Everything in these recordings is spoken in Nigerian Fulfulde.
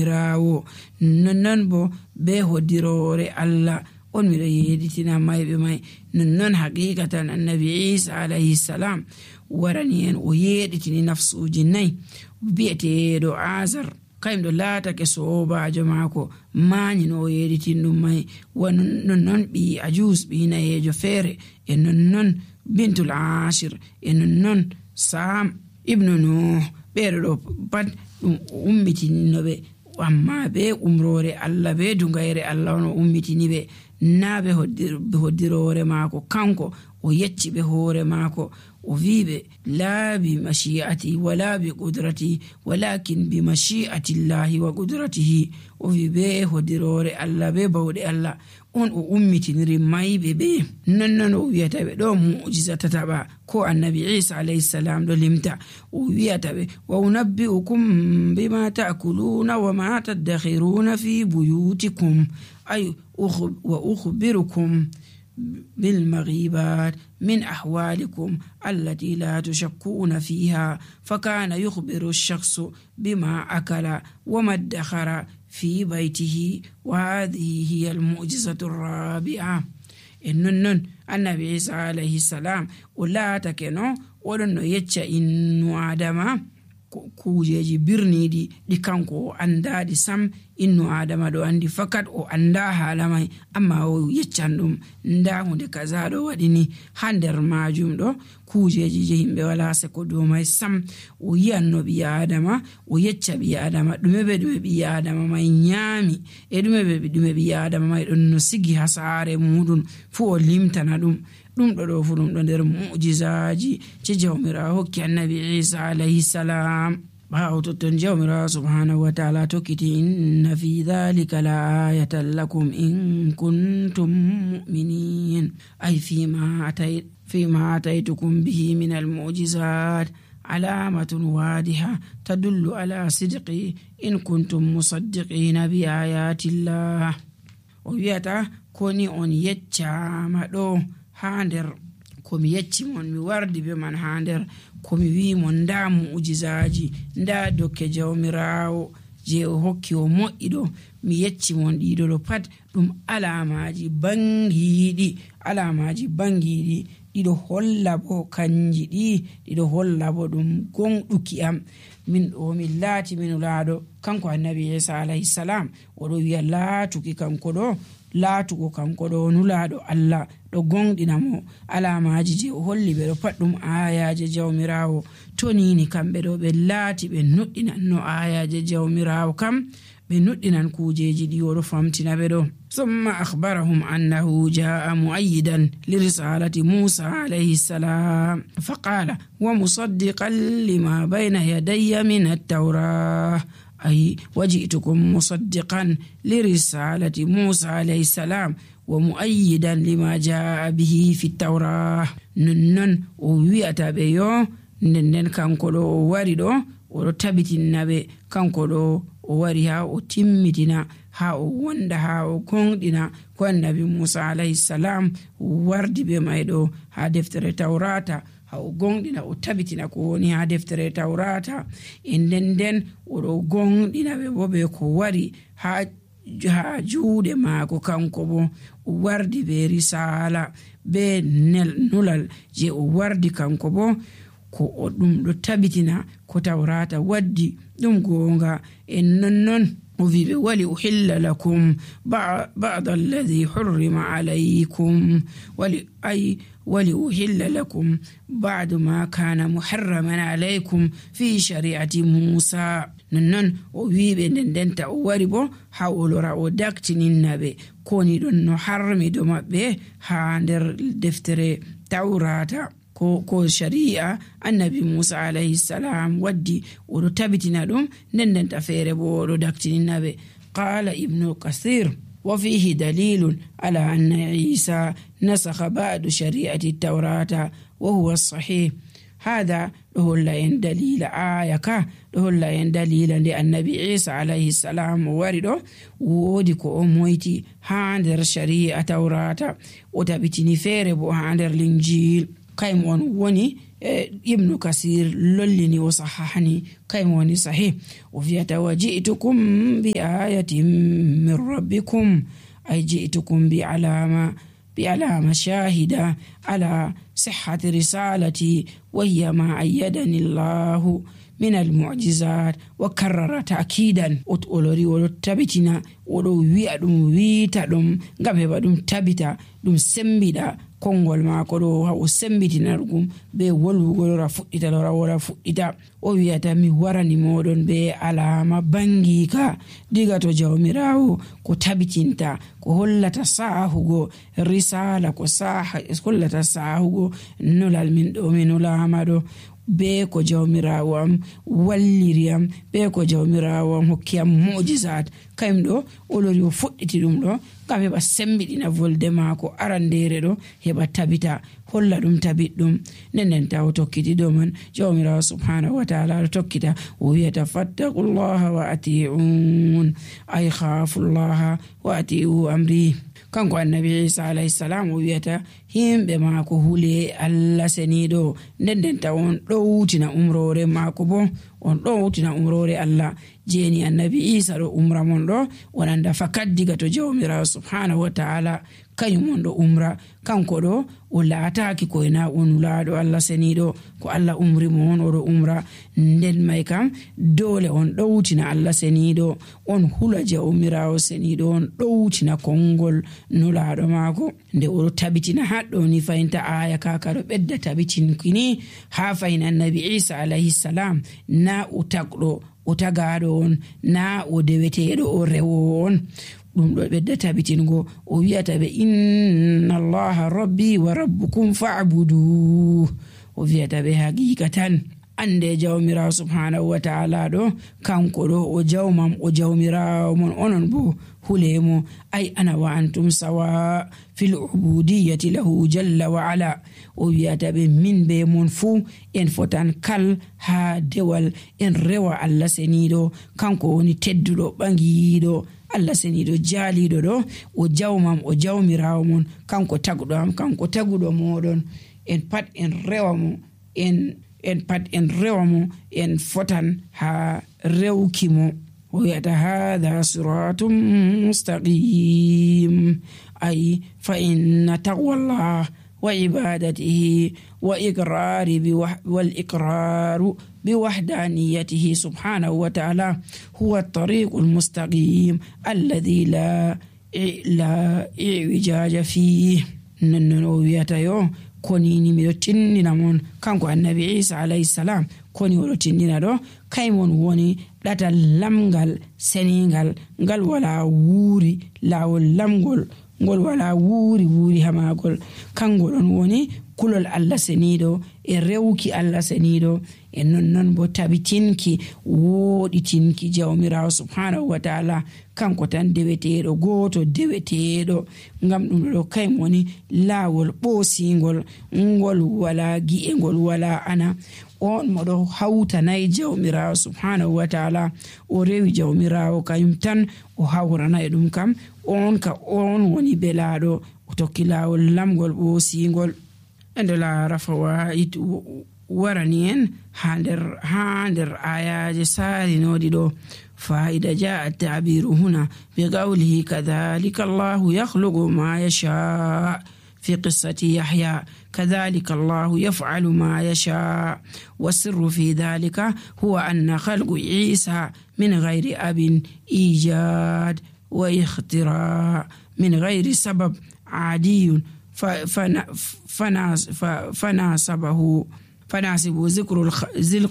jawmirawo. Non bo be hoddiroore Allah on miɗo yeditina mayɓe may. Non haqiqatan annabi Isa alayhi salam warani en o yeditini nafsuji 4 bi'eteeɗo Azar kayimɗo laatake sobajo maako mañino o yeditin ɗum may. Non ɓi Ajus ɓi nayejo feere e non bintul Ashir e non Sam ibnu Nuh ɓeɗo ɗo pat ɗum ummitinoɓe amma be umrore Allah be dungayre Allah on ummitini ɓe na be hoddiroore maako. kanko o yecci ɓe hoore maako o wiɓe la bi mashi'ati wala bi qudrati walakin bi mashi'ati llahi wa qudratihi. o wi be hoddiroore Allah be bawɗe Allah on o ummitiniri mayɓe ɓe. non o wiyata ɓe ɗo mu'jiza tataɓa ko annabi Isa alayhi salam ɗo limta. o wiyata ɓe wa unabbi'ukum bima ta'kuluna wa ma tadakhiruna fi buyutikum ay wa ukhbirukum بالمغيبات من أحوالكم التي لا تشكون فيها فكان يخبر الشخص بما أكل وما ادخر في بيته. وهذه هي المعجزة الرابعة. إنن النبي عيسى عليه السلام ولا تكنو ولن يتشا إنو آدم kujeji birniɗi ɗi kanko o andadi sam. innu adama ɗo andi fakat o anda haala may amma o yeccan ɗum nda hunde kaza ɗo waɗini ha nder majum ɗo kujeji je himɓe wala seko dow may sam. o yiyanno ɓi adama o yecca ɓi adama ɗume ɓi adama may ñaami e ɗume ɓi adama may ɗon no sigi ha saare muɗum fu o limtana ɗum ɗo fu ɗum ɗo nder mu'jizaji je jawmirawo hokki annabi Isa alayhi salam. ɓaawo totton jawmirawo subhanahu wa ta'ala tokkiti inna fi dhalika la ayatan lakum in kuntum mu'minin ay fima ataytukum bihi min al-mu'jizat alamatun wadiha tadullu ala sidqi in kuntum musaddiqina bi ayati llah. o wiyata koni on yeccama ɗo ha nder komi yecci mon mi wardi be man ha nder komi wi mon nda mu'jizaji nda dokke jawmirawo je o hokki o moƴƴiɗo mi yecci mon ɗiɗo pat ɗum alamaji bangiɗi ɗiɗo holla bo kanji ɗiɗo holla bo ɗum gonɗuki am min ɗo min laati min laaɗo. kanko annabi Isa alayhi salam oɗo wiya laatuki kanko ɗo laatugo kanko ɗo nulaaɗo Allah ɗo gonɗina mo alamaji je o holli ɓe ɗo pat ɗum ayaje jawmirawo. to nini kamɓe ɗo ɓe laati ɓe nuɗɗinan no ayaje jawmirawo kam ɓe nuɗɗinan kujeji ɗi oɗo famtina ɓe ɗo. ثم أخبرهم أنه جاء مؤيدا لرسالة موسى عليه السلام فقال ومصدقا لما بين يدي من التوراة أي وجئتكم مصدقا لرسالة موسى عليه السلام ومؤيدا لما جاء به في التوراة. نن ويأتا بيو نن كانكولو واردو ورتبتنا بي كانكولو واريها وتمتنا ha o wonda ha o gonɗina ko annabi Musa alayhi salam wardi be mayɗo ha deftere tawrata ha o gonɗina o tabitina ko woni ha deftere tawrata e nden oɗo gonɗina ɓe bo ɓe ko wari ha juuɗe maako kanko bo o wardi be risala be nulal je o wardi kanko bo ko o ɗum ɗo tabitina ko tawrata waddi ɗum gonga en non وفي ولأحل لكم بعض الذي حرم عليكم ولأحل لكم بعد ما كان محرما عليكم في شريعة موسى. نن وفي بندن تأوربو حاولوا رأو داكتنين نبي كوني دون نحرمي دوما به هاندر دفتر توراتا ko shari'a annabi Musa alayhi salam waddi oɗo tabitina ɗum nden ta feere bo oɗo daktininaɓe. qala ibnu kasir wa fihi dalilun ala anna Isa nasakha ba'du shari'ati tawrata wa huwa sahih. hada ɗo holla en dalila aya ka ɗo holla en dalila nde annabi Isa alayhi salam o wari ɗo woodi ko o moyti ha nder shari'a tawrata o tabitini feere bo ha nder linjil. kaymo on woni ibnu kasir lollini o sahahani kaymo woni sahih o wiyata wa ji'tukum bi ayatin min rabbikum ay ji'tukum bi alama shahida ala sihhati risalati wa hiya ma ayyadani Allahu min al-mu'jizat wa karrara ta'kidan olori o tabitina o do wi'a dum wiita dum ngam heba dum tabita dum sembida kongol maako do ha o sembitina dum be wolwugol ra fuddita lora wora fuddita o wi'ata mi warani modon be alama bangika diga to jawmirawo ko tabitinta ko hollata sahugo risala ko hollata sahugo nulal min do minulama do be ko jawmirawo am walliriyam be ko jawmirawo am hokkiyam mu'jizat kaymdo olori o fudditi dum do ngam heba sembidina volde maako arandere do heba tabita holla dum tabiddum nenen taw tokkiti do man jawmirawo subhanahu wa ta'ala tokkita o wi'ata fattaqullaha wa ati'un ay khafullaha wa ati'u amri kanko annabi Isa alayhi salam o wi'ata himbe maako hule Allah senido nden tawon dowtina umrore maako bo on dowtina umrore Allah jeni annabi Isa do umra mon do wonanda fakat diga to jawmirawo subhanahu wa ta'ala kanyum do umra kanko do o laataaki ko ina on laado Allah senido ko Allah umri mon o do umra nden may kam dole on dowtina Allah senido on hula jawmirawo senido on dowtina kongol nulaado maako nde o tabitina haddo ni fayinta aya kaka do bedda tabitin kini ha fayna annabi Isa alayhi salam na utagdo o tagaado on na o deweteedo o rewo on dum do bedda tabitingo o wi'ata be inna allaha rabbi wa rabbukum fa'budu o wi'ata be hakikatan ande jawmirawo subhanahu wa ta'ala do kanko do o jawmam o jawmirawo mon onon bo hulemo ay ana wa antum sawa fil ubudiyyati lahu jalla wa ala o wi'ata be min be mon fu en fotan kal ha dewal en rewa Allah senido kanko woni teddudo bangido Allah senido jalido do o jawmam o jawmirawo mon kanko tagudo am kanko tagudo modon en pat en rewa mo en pat en rewa mo en fotan ha rewki mo o wi'ata hadha siratun mustaqim ay fa inna taqwallah wa ibadatihi wa iqraru بوحدانيته سبحانه وتعالى هو الطريق المستقيم الذي لا إعوجاج فيه ننوياتا يو konini mi do tinnina mon kanko annabi Isa alayhi salam koni o do tinnina do kaymon woni data lamgal seningal ngal wala wuri lawol lamgol ngol wala wuri hamagol kangol on woni kulol Allah senido e rewki Allah senido e non bo tabitinki woditinki jawmirawo subhanahu wa ta'ala kanko tan deweteedo goto deweteedo ngam dum do kay woni lawol bosingol ngol wala gi'engol wala ana on modo hawta nay jawmirawo subhanahu wa ta'ala o rewi jawmirawo kayum tan o hawrana e dum kam on woni belado o tokki lawol lamgol bosingol ande la rafawa it warani en hander ayaje sari nodi do فإذا جاء التعبير هنا بقوله كذلك الله يخلق ما يشاء في قصة يحيى كذلك الله يفعل ما يشاء والسر في ذلك هو أن خلق عيسى من غير أب إيجاد واختراع من غير سبب عادي فناسب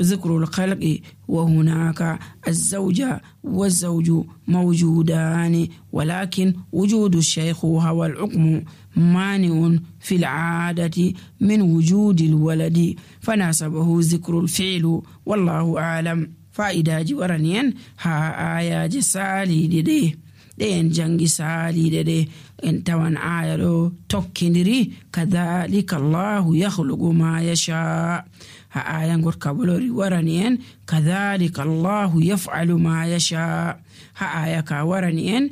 ذكر الخلق وهناك الزوجة والزوج موجودان ولكن وجود الشيخ هو الحكم مانع في العادة من وجود الولد فناسبه ذكر الفعل والله أعلم فإذا جورنين ها آية جسالي دي en jangi salide en tawan aya do tokkindiri kadhalika Allahu yakhluqu ma yasha ha aya ngor kabolori warani en kadhalika Allahu yaf'alu ma yasha ha aya ka warani en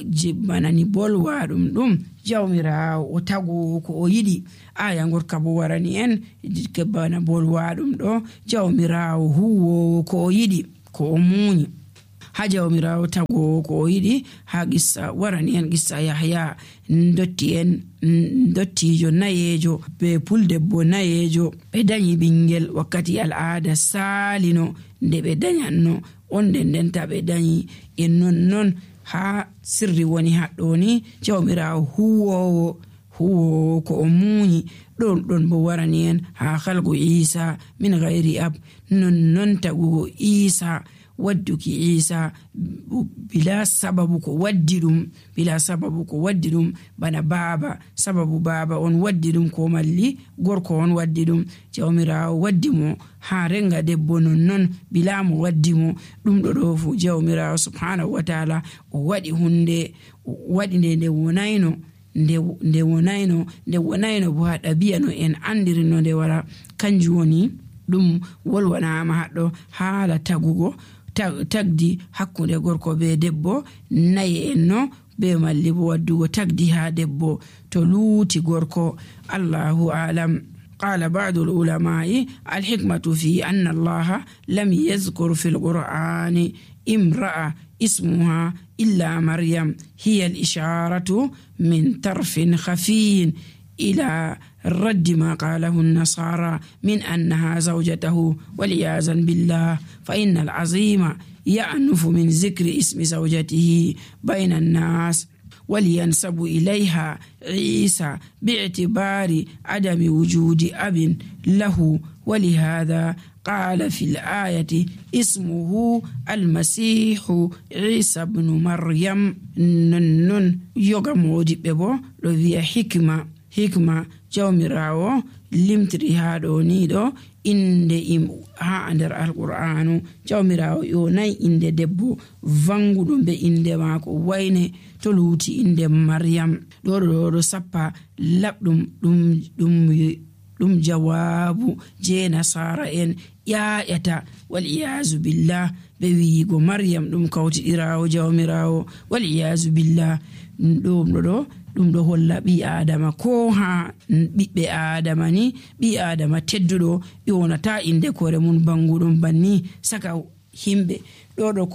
jibbanani bolwaɗum ɗum jawmirawo o tago ko o yiɗi. aya gorka bo warani en bana bolwaɗum ɗo jawmirawo huwowo ko o yiɗi ko o muñi. ha jawmirawo tago ko o yiɗi ha qissa warani en qissa Yahya dottijo nayejo be puldebbo nayejo ɓe dañi ɓingel wakkati al'ada salino nde ɓe dañanno on ndenta ɓe dañi e non ha sirri woni haɗɗoni jawmirawo huwowo ko o muñi. ɗon bo warani en ha halgu Isa min ghairi ab non tagugo Isa wadduki Isa bila sababu ko waddi ɗum bana baba sababu baba on waddi ɗum ko malli gorko on waddi ɗum. jawmirawo waddi mo ha renga debbo non bila mo waddi mo ɗum ɗo fu jawmirawo subhanahu wa ta'ala o waɗi hunde waɗi nde wonayno bo ha ɗabi'a no en andiri no nde wara. kanjum woni ɗum wolwanama haɗɗo haala tagugo tagdi hakkunde gorko be debbo nayi en no be malli bo waddugo tagdi ha debbo to luuti gorko. Allahu a'lam. قال بعض العلماء الحكمة في أن الله لم يذكر في القرآن امرأة اسمها إلا مريم هي الإشارة من طرف خفي إلى رد ما قاله النصارى من أنها زوجته والعياذ بالله. فإن العظيم يأنف من ذكر اسم زوجته بين الناس ولينسب إليها عيسى باعتبار عدم وجود أب له. ولهذا قال في الآية اسمه المسيح عيسى بن مريم. نن يغمودي ببو لو hikma jawmirawo limtiri ha ɗo ni ɗo inde ha nder alqur'anu jawmirawo yonai inde debbo vanguɗo be inde mako wayne to luuti inde Maryam. ɗo sappa labɗum ɗum jawabu je nasara en ƴaƴata wal iyazu billah be wiigo Maryam ɗum kawtiɗirawo jawmirawo wal iyazu billah. ɗum ɗo holla ɓi adama ko ha ɓiɓɓe adama ni ɓi adama tedduɗo yonata inde kore mun banguɗum banni saka himɓe. ɗo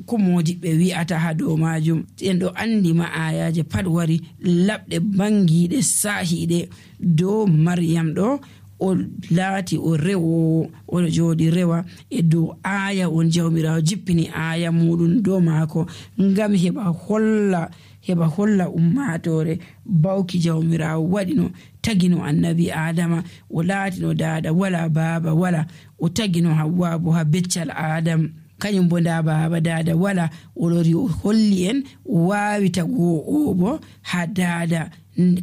ko modiɓɓe wi'ata ha dow majum en ɗo andi ma ayaje pat wari labɗe bangiɗe sahiɗe dow Maryam ɗo o laati o rewowo o jooɗi rewa e dow aya on jawmirawo jippini aya muɗum dow maako ngam heɓa holla ummatore bawki jawmirawo waɗino tagino annabi adama o laatino dada wala baba wala o tagino Hawwa bo ha beccal adam kañum bo nda baba dada wala o lori o holli en wawi taguwo o bo ha dada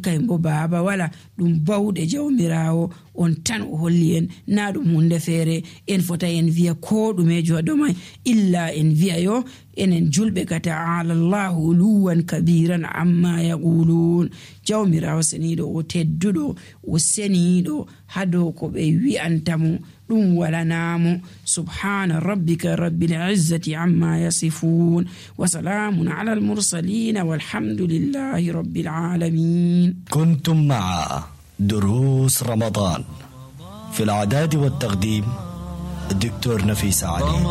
kañum bo baba wala ɗum bawɗe jawmirawo on tan o holli en na ɗum hunde feere en fota en wiya ko ɗumejo ha domai illa en wiya yo enen julɓe ka ta'ala Allahu uluwan kabiran amma yaqulun. jawmirawo seniɗo o tedduɗo o seniɗo ha dow ko ɓe wi'antamo ɗum walanamo. subhana rabbika rabbil izzati amma yasifun wa salamun ala al mursalin walhamdulillahi rabbil alamin. كنتم مع دروس رمضان في الإعداد والتقديم الدكتور نفيس علي.